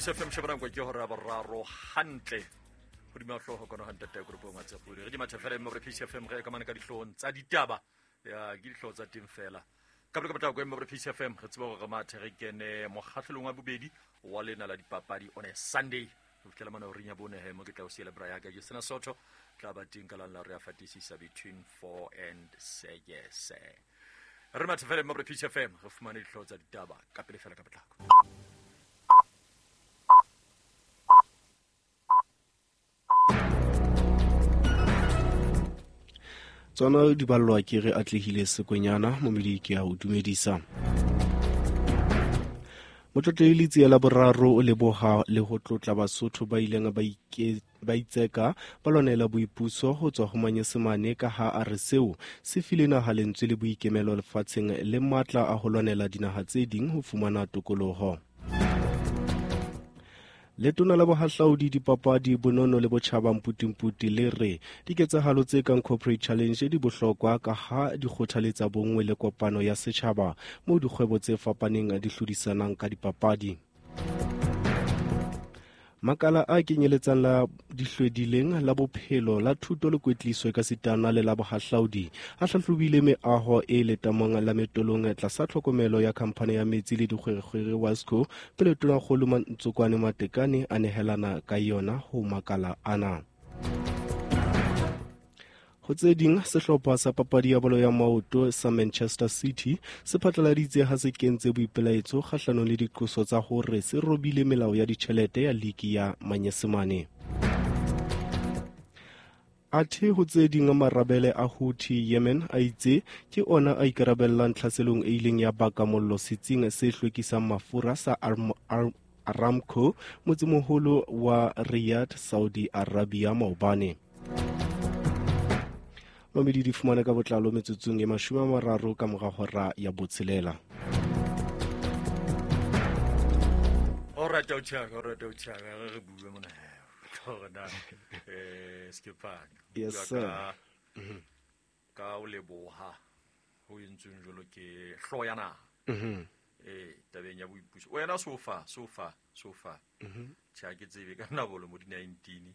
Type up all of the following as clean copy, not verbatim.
Peace FM shebana kwa ke hora boraro hantle hodima hlooho kono hantle tata group ngwa tsa podi re di matha fela mme Peace FM re ka mane ka dihloohong tsa ditaba ya ke dihlooho tsa teng fela ka pele ka potlako mme Peace FM re tseba hore re mathe re kene mokgahlelong wa bobedi wa lena la dipapadi on a Sunday ho fihlela mane horeng ya bone he mo ke tla o siela bra ya ka Justina Soto tla ba teng ka lang la re a fatisisa between 4 and 6 re mathe fela mme Peace FM re fumane dihlooho tsa ditaba ka pele fela ka potlako. Tsona di ballwa ke re atlehile sekwenyana momedi ke a o dumedisa. Motlotlehi Letsie la boraro o leboha le ho tlotla Basotho ba ileng ba itseka ba lwanela boipuso ho tswa ho Manyesemane ka ha a re seo se file naha lentswe le boikemelo lefatsheng le matla a ho lwanela dinaha tse ding ho fumana tokoloho. Letona la bohahlaudi, dipapadi, bonono le botjhaba Mputimputi le re diketsahalo tse kang Corporate Challenge di bohlokwa ka ha di kgothaletsa bonngwe le kopano ya setjhaba moo dikgwebo tse fapaneng di hlodisanang ka dipapadi. Makala a kenyeletsang la dihlwedileng la bophelo la thuto le kwetliso ekasitana le la bohahlaudi a hlahlobile meaho e letamong la metolong tlasa tlhokomelo ya khamphane ya metsi le dikgwerekgwere Wasco pele tonakgolo Ntsokwane Matekane a nehelana ka yona ho makala ana. Ho tse ding, sehlopha sa papadi ya bolo ya maoto sa Manchester City se phatlaladitse ha se kentse boipelaetso kgahlanong le diqoso tsa hore se robile melao ya ditjhelete ya liki ya Manyesemane. Athe ho tse ding, marabele a Houthi Yemen a itse ke ona a ikarabellang tlhaselong e ileng ya baka mollo setsing se hlwekisang mafura sa Aramco motsemoholo wa Riyadh, Saudi Arabia maobane. Mamedi di fumane ka botlalo metsotsong e 30 ka mora hora ya botshelela. Alright, o re bue mona. Hore na Skepane. Yes sir. Ka o leboha ho entsweng jwalo ke hloho ya naha. Tabeng ya boipuso. Wena so far. Tjhe, ha ke tsebe ka nna bolo mo di 19.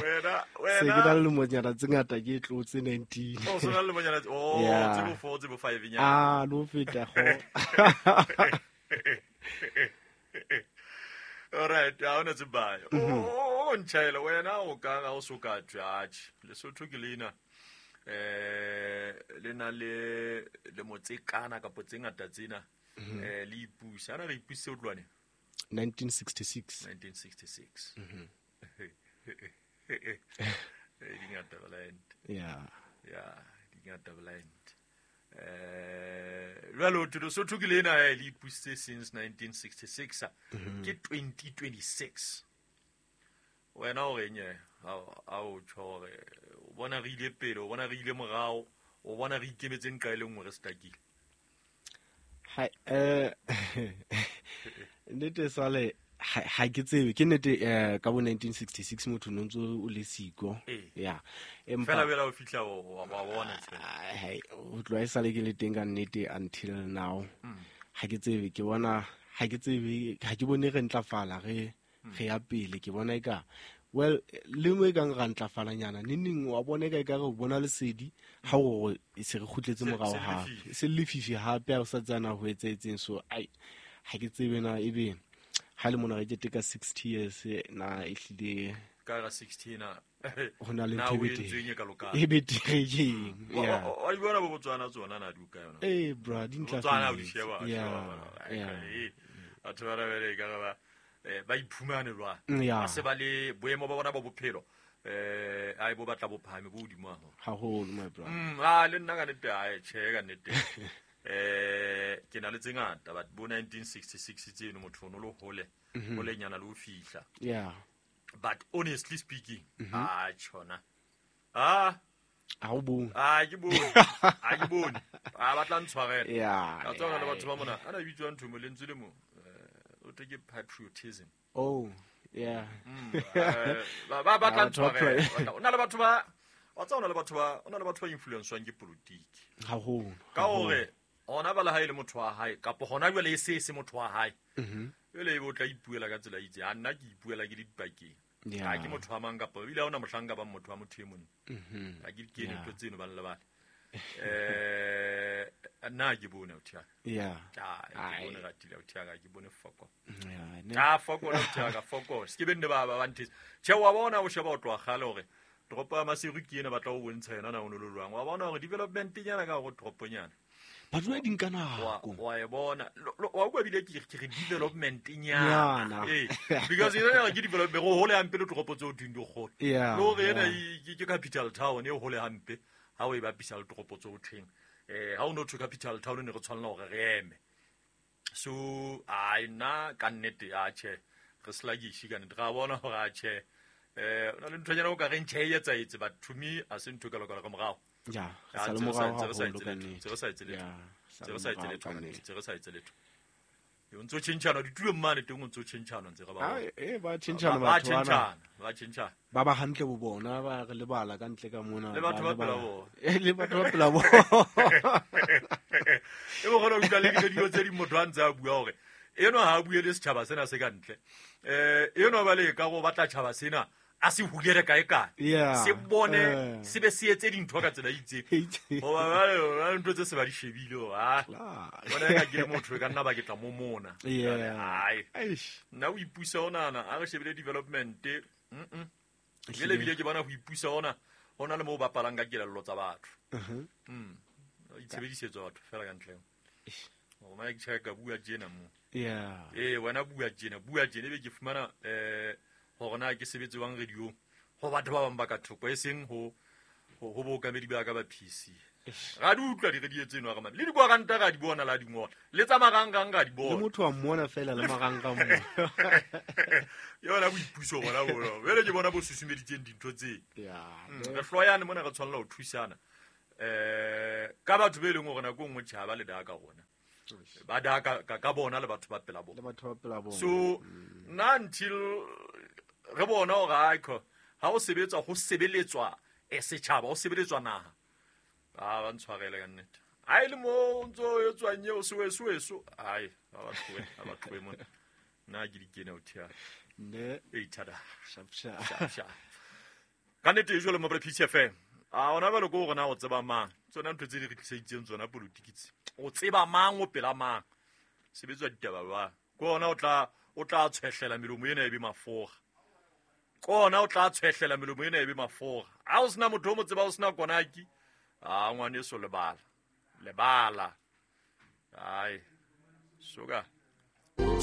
Wena Se ke na le lemonyana tse ngata ke tlotse 19. Oh, so na le lemonyana tse, oh, Yeah. tse bo 4, tse bo 5 nyana. Ah, no feta go. All right, ha ona tse bayo. Oh, ntjhaela wena o ka ga o so ka judge. Lesotho ke lena. Le na le le motsekana kapo tse ngata tsena. Le ipusa. Ana re ipuse o tlwane. 1966. 1966. Di ngata blind. Yeah. Yeah, di ngata blind. Jwale ho thwe Lesotho ke lena le ipusitse since 1966. Ke 2026. Wena o reng ha o tjho hore o bona re ile pele, o bona re ile morao, o bona re ikemetse nqa e le nngwe re stakile. Hai, nnete sale ha ke tsebe ke nnete ka bo 1966 motho no ntso o le siko. Yeah. Empa fela bela o fihla wa bona tse. Hai, o tloha e sale ke le teng ka nnete until now. Ha ke tsebe ke bona ha ke tsebe ha ke bone re ntlafala re re ya pele ke bona eka well le mo e kang ra ntlafalanyana neng wa bona eka e ka re bona lesedi ha o se re kgutletse morao ha se lefifi hape ha o sa tsana ho etsahetseng. So ai ha ke tsebe na ebe ha le mona re keteka 60 years na ehlile ka ra 60 na ho na le na ntho o e betere. entsweng e ka lokang. E betere ke eng? Yeah. Wa di bona bo Botswana tsona na di o kae yona? Eh bra, di Botswana o di ntlafetse. sheba, Yeah, sheba, yeah. batho ba rabele e ka re ba iphumane jwang. Yeah. Ba se ba le boemo ba bona ba bophelo. Ai bo batla bophahame bo hodimo haholo. Haholo, my brother. Le nna ka nnete, ai, tjhe, ka nnete. Ke na le tse ngata, but bo 1966 tseno motho o no le hole, holenyana le ho fihla. Yeah. But honestly speaking, ah, tjhona. Ah. Ha o bone. Ah, ke bone. Ha ke bone. Ah, ba tla ntshwarela. Yeah, Ka tswa le yeah. batho ba mona. Ana bitswa ntho mo lentswe le mo. O thwe ke patriotism. Oh, yeah. Ba ba tla Ah, batho ba ntshwarela. O na le batho ba, wa tseba o na le batho ba, o na le batho ba influencewang ke politiki. Haholo. Ka hore Ona bala hae le motho wa hae kapa hona jwale e se motho wa hae. Jwale ebe o tla ipuela ka tsela e itseng. A nna ke ipuela ke le dipakeng. Ha ke motho wa mang kapa ebile ha hona mohlang ka bang motho wa motho e mong. Ha ke di kene ntho tseno ba lebale. Nna ke bone authi ya. Ke bone ratile authi ya ka, ke bone foko. Foko authi ya ka, foko. Se ke be nne ba nthetse. Tjhe, wa bona o sheba o tloha kgale hore toropo ya Maseru ke ena batla ho bontsha yona na o no le jwang. Wa bona hore development nyana ka hore toroponyana. Batho ba di nka nako. Wa e bona. Wa utlwa ebile ke re development nyana. Because ena ke development go hole hampe le toropo tseo ding di kgolo. Le hore ena ke capital town e hole hampe ha o e bapisa le toropo tseo thweng. Ha o no thwe capital town ne re tshwanela hore re eme. So ai nna ka nnete a tjhe re slagishi ka nnete. Ra bona hore a tjhe o na le nthonyana o ka reng tjhe e etsaetse, but to me a se ntho ka lokela ka morao. Ya, sa le morao haholo ka nnete. Re sa etse letho. Re sa etse letho. Re sa etse letho. O ntso tjhentjhana ditulong mane teng, o ntso tjhentjhana ntse re ba. Ba tjhentjhana batho bana. Ba tjhentjhana. Ba ba hantle bo bona, ba re lebala ka ntle ka mona. Le batho ba pela bona. Le batho ba pela bona. E bo kgona ho utlwa le dilo tse ding motho a ntse a bua hore eno ha a bue le setjhaba sena se ka ntle. Eno ba le ka go batla tjhaba sena a se hulere kae kae. Se bone se be se etse dintho ka tsela e itseng. Hoba ba ntho tse se ba di shebile hore a bona ka ke le motho ka nna ba ke tla mo mona. Ai. Nna o ipusa ona a re shebile development. Jele bile ke bona ho ipusa ona hona le mo bapalang ka kelello tsa batho. Itshebedisetso batho fela ka ntle. O ma ke tjheka bua tjena mo. Wena bua tjena ebe ke fumana hore na ke sebetse jwang radio ho batho ba bang ba ka thoko e seng ho bookamedi ba ka ba PC. Ra di utlwa di-radio tseno a re mame. Le dikoranta ra di bona la di ngola. Le tsa marangrang ra di bona. Le motho wa mmona fela le marangrang mo. Yona boipuso bona bona. Jwale ke bona bo susumeditseng dintho tse. Re hloyane mona re tshwanela ho thusana. Ka batho be leng hore nako e nngwe tjhe ha ba le daka rona. Ba daka ka bona le batho ba pela bona. Le batho ba pela bona. So nna until re bona hore aikho ha o sebetsa ho sebeletswa setjhaba, ho sebeletswa naha. A ba ntshwarele ka nnete. Ha e le mo ntso e tswang eo seweso. Ai, ba tlohe mona. Nna ke di kene o thea. Ne. E thada. Sharp sharp. Ka nnete e jwale mo Peace FM. A ona ba le go rona o tseba mang. Tsona ntho tse di re tliseditseng tsona politiki tse. O tseba mang o pela mang. Sebetswa ditaba ba. Ke ona o tla tshwehlela melomo ena e be mafoga. Kona o tla tshwehlela melomo ena e be mafoga. Ha o sena motho o mo tseba o sena konaki. A ngwaneso lebala. Lebala. Ai. Suka.